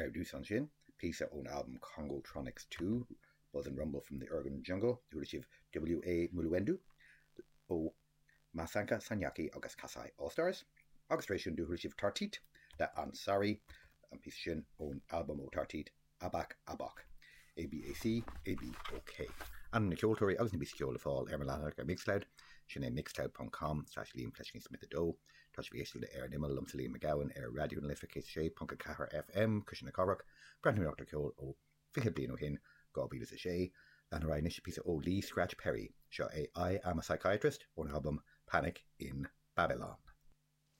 Ar dtús ansin, píosa ón albam Congotronics 2, Buzz and Rumble from the Organ Jungle, chuala sibh W.A. Muluendu ó Masanka Sanyaki agus Kasai All Stars, agus tar éis sin do chuala sibh Tartit le Ansari, an píosa sin ón albam ó Tartit, Abak Abok, ABAC ABOK. Ainm na ceoltóirí agus na bpíosaí ceoil le fáil ar mo leathanach ar Mixcloud, sin é mixcloud ponc com slash Liam Fleiscín Smith 2. Tá sibh ag éisteacht le Ar an Imeall liomsa Liam Mac Gabhann ar Raidió na Life 106.4 FM, Cuisle na Cathrach, breathnú ar cheol ó 20 bliain ó shin, 2006. Lean ar aghaidh anois píosa ó Lee Scratch Perry. Seo é I Am a Psychiatrist ón albam Panic in Babylon.